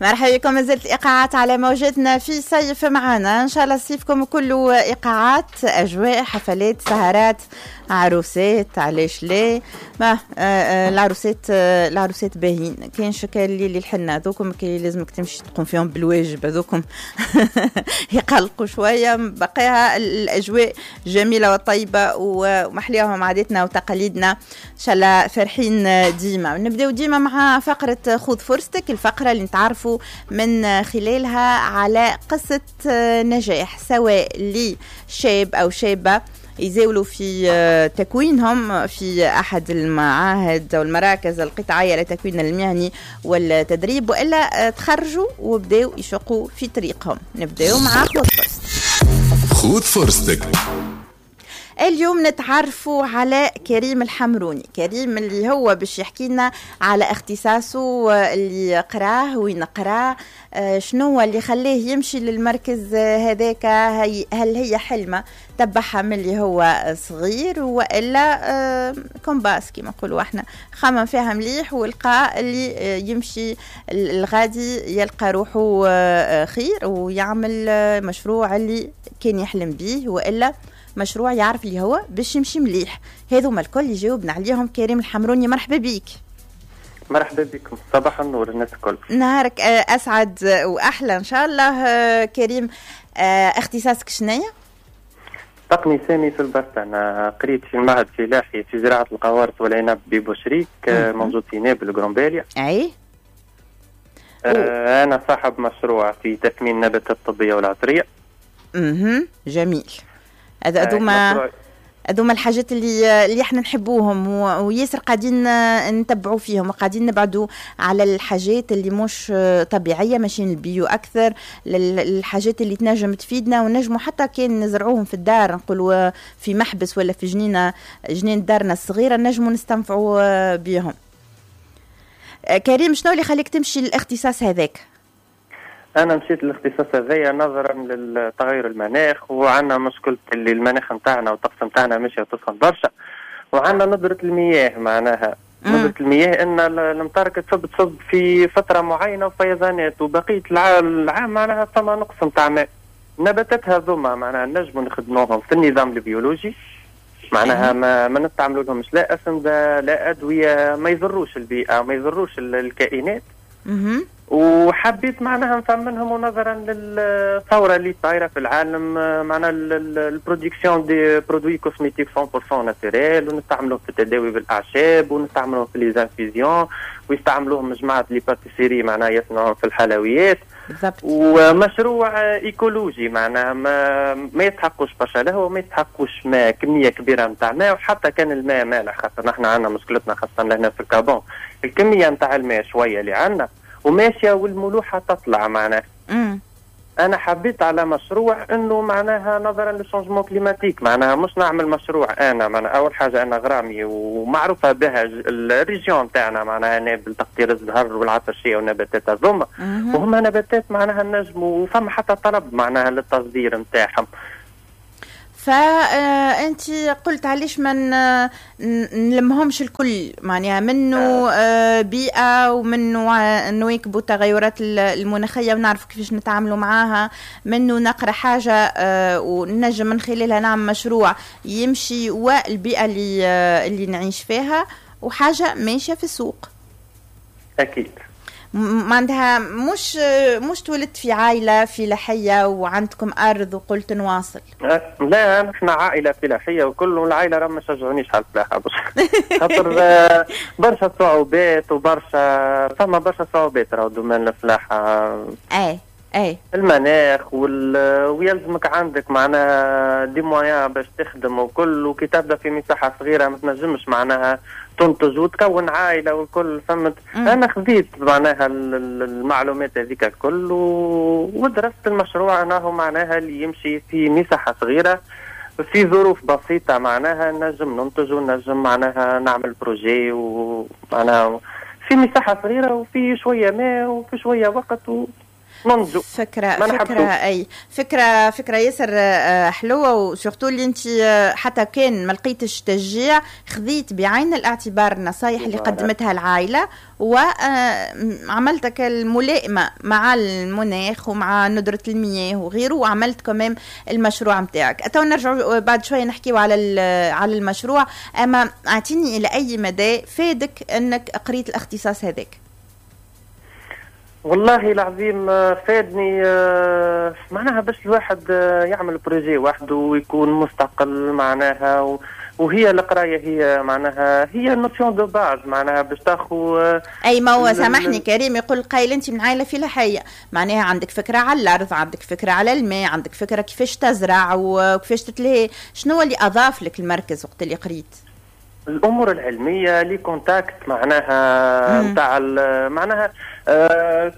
مرحبا بكم، مازالت الايقاعات على موجتنا في صيف معنا. ان شاء الله صيفكم كله ايقاعات، اجواء، حفلات، سهرات، عروسات، علاش لا؟ ما العروسات، العروسات باهين، كاين شكال اللي الحنة هذوكم كي لازمك تمشي تقوم فيهم بالواجب، هذوكم يقلقوا شويه. بقيها الاجواء جميلة وطيبة ومحليهم عاداتنا وتقاليدنا، ان شاء الله فرحين ديما. نبداو ديما مع فقره خذ فرصتك، الفقرة اللي نتعرفوا من خلالها على قصة نجاح سواء لشاب او شابه يزاولوا في تكوينهم في أحد المعاهد أو المراكز القطاعية للتكوين المهني والتدريب، وإلا تخرجوا وبداوا يشقوا في طريقهم. نبداو مع خذ فرصتك. خذ فرصتك. اليوم نتعرفوا على كريم الحمروني. كريم اللي هو باش يحكي لنا على اختصاصه اللي قراه، وين قراه، شنو اللي خلاه يمشي للمركز هذاك، هل هي حلمة تبعها من اللي هو صغير والا كومباس كما نقولوا احنا، خمم فيها مليح ولقى اللي يمشي الغادي يلقى روحه خير ويعمل مشروع اللي كان يحلم به، والا مشروع يعرف اللي هو باش يمشي مليح. هذوما الكل يجاوبنا عليهم كريم الحمروني. مرحبا بيك. مرحبا بكم، صباح النور الناس الكل. نهارك اسعد واحلى ان شاء الله. كريم، اختصاصك شنيا؟ تقني سامي في البست. انا قريت في المعهد الفلاحي في زراعة القوارص والعنب ببوشريك، موجود في نابل قرنباليا. اي. انا صاحب مشروع في تثمين النباتات الطبية والعطريه. جميل. هذوما الحاجات اللي احنا نحبوهم وياسر قاعدين نتبعوا فيهم وقاعدين نبعدوا على الحاجات اللي مش طبيعيه، ماشيين ال bio اكثر، للحاجات اللي تنجم تفيدنا ونجموا حتى كان نزرعوهم في الدار، نقولوا في محبس ولا في جنينة، جنين دارنا الصغيرة، نجموا نستنفعوا بيهم. كريم، شنو اللي خليك تمشي للاختصاص هذاك؟ انا مشيت للاختصاص هذايا نظرا للتغير المناخ، وعندنا مشكلة اللي المناخ نتاعنا والطقس نتاعنا ماشي تسخن برشا، وعندنا ندرة المياه، معناها ندرة المياه ان الامطار تصب تصب في فترة معينة وفيضانات، وبقية العام معناها ثم نقص نتاع ماء. النباتات هذوما معناها نجموا نخدموهم في النظام البيولوجي، معناها ما نستعملوا لهمش لا اسمده لا ادويه، ما يضروش البيئه، ما يضروش الكائنات. وحبيت معناها نفهم منهم، ونظرا للثورة اللي صايرة في العالم، معناها ال production des produits cosmétiques 100% naturels، ونستعملوهم في التداوي بالاعشاب، ونستعملوهم في les infusions، ويستعملوهم جماعة les pâtisseries معناها يصنعوهم في الحلويات. بالضبط. ومشروع écologique معناها ما يستحقوش برشا لهو، وما يستحقوش ماء، كمية كبيرة نتاع ماء، وحتى كان الماء مالح، خاطر نحن عندنا مشكلتنا خاصة لهنا في ال Cap Bon، الكمية نتاع الماء شوية اللي عندنا وماشية والملوحه تطلع معناها. انا حبيت على مشروع انه معناها نظرا لل changement climatique، معناها مش نعمل مشروع انا، معناها اول حاجة انا غرامي ومعروفة بها ال région تاعنا، معناها نابل تقطير الزهر والعطرشيه والنباتات هذوما، وهما نباتات معناها النجم، وفما حتى طلب معناها للتصدير نتاعهم. فأنت قلت علاش ما نلمهمش الكل، معناها منه بيئة ومنه نواكبوا التغيرات المناخية ونعرف كيفاش نتعاملوا معاها، منه نقرأ حاجة ونجم من خلالها نعمل مشروع يمشي والبيئة اللي نعيش فيها، وحاجة ماشية في السوق. أكيد. معناتها مش تولدت في عائلة فلاحية وعندكم أرض وقلت نواصل؟ لا، نحن عائلة فلاحية وكل العائلة راه ما شجعونيش على الفلاحة، خاطر برشا صعوبات وبرشا فما برشا صعوبات راهو domaine الفلاحة. اي اي المناخ ويلزمك عندك معناها des moyens باش تخدم وكل، وكي تبدا في مساحة صغيرة ما تنجمش معناها تنتج وتكون عائلة والكل، فهمت؟ انا خذيت معناها المعلومات هذيك الكل ودرست المشروع انه معناها اللي يمشي في مساحة صغيرة في ظروف بسيطة، معناها نجم ننتج ونجم معناها نعمل projet، ومعناها في مساحة صغيرة وفي شوية ماء وفي شوية وقت. ننتجو. فكرة اي فكرة ياسر حلوه، و surtout اللي انت حتى كان ما لقيتش تشجيع خذيت بعين الاعتبار النصايح اللي قدمتها العائلة وعملتك الملائمة مع المناخ ومع ندره المياه وغيره، وعملت كمان المشروع نتاعك. تو نرجع بعد شوية نحكيو على المشروع، اما اعطيني الى اي مدى فادك انك قريت الاختصاص هذاك؟ والله العظيم فادني، معناها باش الواحد يعمل projet وحده ويكون مستقل معناها، وهي القراية هي معناها هي notion de base معناها باش تاخو. اي ما هو سامحني كريم، يقول قايل انت من عائلة فلاحية، معناها عندك فكرة على الارض، عندك فكرة على الماء، عندك فكرة كيفاش تزرع وكيفاش تتلهي. شنو اللي اضاف لك المركز وقت اللي قريت؟ الامور العلمية، les contacts معناها نتاع معناها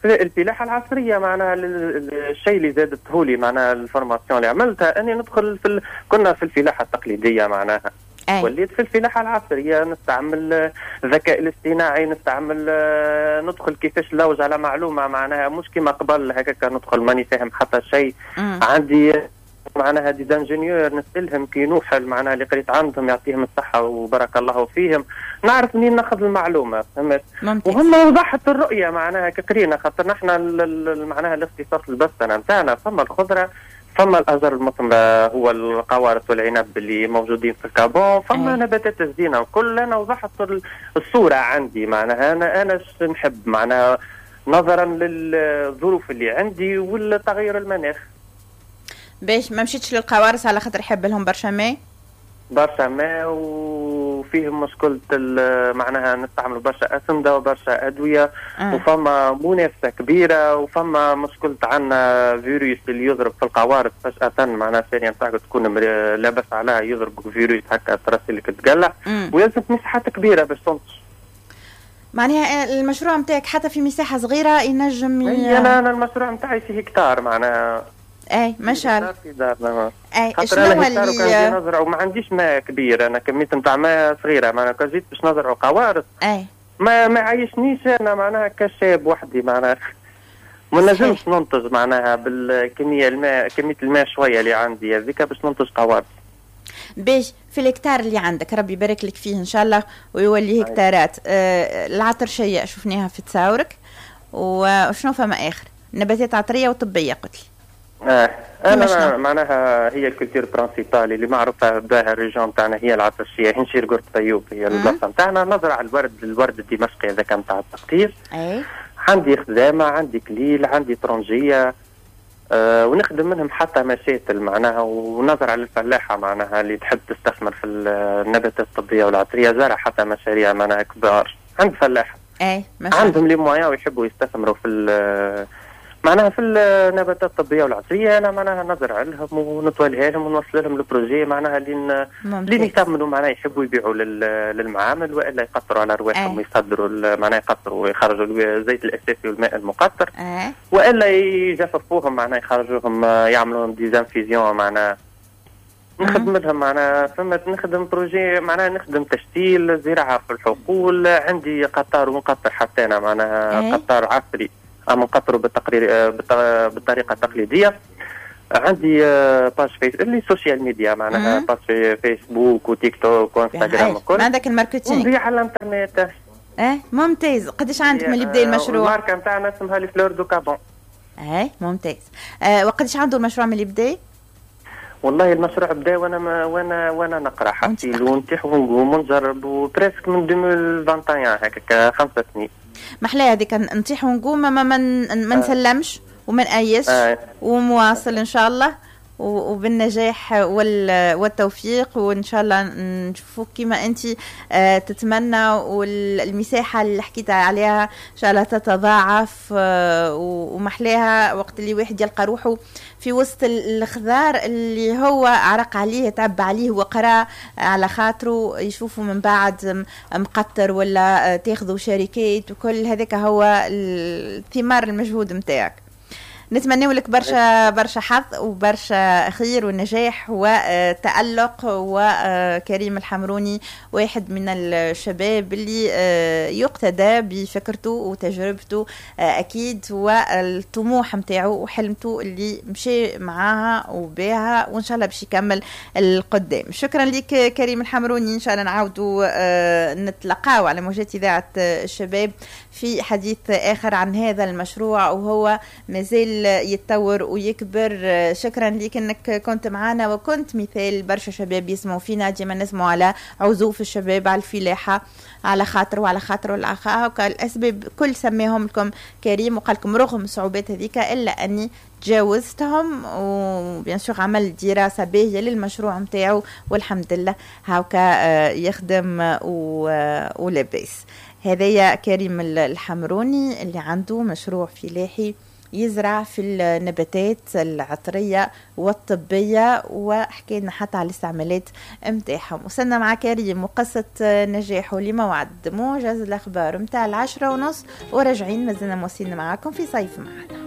الفلاحة العصرية، معناها الشيء اللي زادته لي معناها ال formation اللي عملتها اني ندخل كنا في الفلاحة التقليدية معناها. أي. وليت في الفلاحة العصرية نستعمل الذكاء الاصطناعي، نستعمل ندخل كيفاش نلوج على معلومة معناها، مش كما قبل هكاك ندخل ماني فاهم حتى شيء. عندي معناها des ingénieurs نسالهم كي نوحل معناها اللي قريت عندهم يعطيهم الصحة وبارك الله فيهم، نعرف منين ناخذ المعلومة، فهمت؟ وهم وضحت الرؤية معناها كقرينا، خاطر نحن معناها الاختصاص البستنه نتاعنا فما الخضرة، فما الازهار المثمرة هو القوارص والعنب اللي موجودين في ال Cap Bon، فما نباتات الزينة وكل. انا وضحت الصورة عندي معناها انا نحب معناها نظرا للظروف اللي عندي والتغير المناخ. باش ما مشيتش للقوارص على خاطر يحب لهم برشا ماء؟ برشا ماء، وفيهم مشكلة معناها نستعملوا برشا أسمدة وبرشا أدوية. وفما منافسة كبيرة، وفما مشكلة عندنا فيروس اللي يضرب في القوارص فجأة، معناها الثانية نتاعك تكون لاباس عليها يضرب فيروس هكا ترسلك تقلع، ويلزم مساحات كبيرة باش تنتج. معناها المشروع نتاعك حتى في مساحة صغيرة ينجم أنا المشروع نتاعي في هكتار معناها. اي ما شاء الله. اي شنو هو اللي نزرع وما عنديش ماء كبير، انا كمية نتاع ماء صغيرة معناها كان جيت باش نزرع قوارص اي ما عايشنيش انا معناها كشاب وحدي معناها ما نجمش ننتج معناها بالكمية الماء، كمية الماء شوية اللي عندي هذيك باش ننتج قوارص. باش في الهكتار اللي عندك ربي يبارك لك فيه ان شاء الله ويولي هكتارات. العطرشيه شفناها في تصاورك، وشنو فما اخر؟ نباتات عطريه وطبيه قلت لي. انا معناها هي ال culture principale اللي معروفة بها ال région تاعنا هي العطرشيه، هنشير قرط طيوب هي البلاصة نتاعنا. نزرع الورد الدمشقي هذاك نتاع التقطير. عندي خزامة، عندي كليل، عندي ترنجيه، ونخدم منهم حتى مشاتل معناها، ونزرع للفلاحه معناها اللي تحب تستثمر في النباتات الطبية والعطريه، زرع حتى مشاريع معناها كبار عند فلاحة. عندهم les moyens ويحبوا يستثمروا في معناها في النباتات الطبية والعطريه. انا معناها نزرع لهم ونطولها لهم ونوصل لهم ال projet معناها لين يكملوا معناها يحبوا يبيعوا للمعامل والا يقطروا على رواحهم ويصدروا معناها يقطروا ويخرجوا الزيت الاساسي والماء المقطر، والا يجففوهم معناها يخرجوهم يعملوهم des infusions معناها. نخدم لهم معناها فما نخدم projet معناها نخدم تشتيل زراعة في الحقول. عندي قطار ونقطر حتى انا معناها قطار عصري اما نقطروا بالطريقة التقليدية. عندي page فيس اللي social media معناها page في فيسبوك وتيك توك وانستغرام وكل. عندك ال marketing ونبيع على الانترنت. ممتاز. قداش عندك من اللي بدا المشروع؟ الماركة نتاعنا اسمها les fleurs du Cap Bon. ممتاز. وقداش عنده المشروع من اللي بدا؟ والله المشروع بدا وانا وانا وانا نقرا حتى ونتيح ونقوم ونجرب و presque من 2021 هكاك 5 سنين. محلاها هذيك نطيح ونقوم ما نسلمش وما نأيسش ومواصل ان شاء الله وبالنجاح والتوفيق، وان شاء الله نشوفوك كما انت تتمنى، والمساحة اللي حكيت عليها ان شاء الله تتضاعف. ومحلاها وقت اللي واحد يلقى روحه في وسط الخضار اللي هو عرق عليه، تعب عليه وقرا على خاطره، يشوفه من بعد مقطر ولا تاخذوا شركات وكل هذاك هو الثمار المجهود نتاعك. نتمنى لك برشا برشا حظ وبرشا خير ونجاح وتألق. وكريم الحمروني واحد من الشباب اللي يقتدى بفكرته وتجربته اكيد، والطموح نتاعو وحلمته اللي مشي معاها وبها، وان شاء الله باش يكمل القدام. شكرا لك كريم الحمروني، ان شاء الله نعاودوا نتلقاو على موجات اذاعة الشباب في حديث اخر عن هذا المشروع وهو مازال يتطور ويكبر. شكرا لك انك كنت معنا وكنت مثال برشا شباب يسمعوا فينا. ديما نسمعوا على عزوف الشباب على الفلاحة على خاطر وعلى خاطر وعلى خاطر الاسباب كل سماهم لكم كريم، وقال لكم رغم الصعوبات هذيك الا اني تجاوزتهم، و bien sûr عمل دراسة باهيه للمشروع نتاعو والحمد لله هاكا يخدم ولاباس. هذايا كريم الحمروني اللي عنده مشروع فلاحي يزرع في النباتات العطرية والطبية، وحكينا حتى على الاستعمالات متاعهم. وصلنا مع كريم وقصة نجاحه لموعد موجز الأخبار متاع 10:30، وراجعين مازلنا مواصلين معاكم في صيف معنا.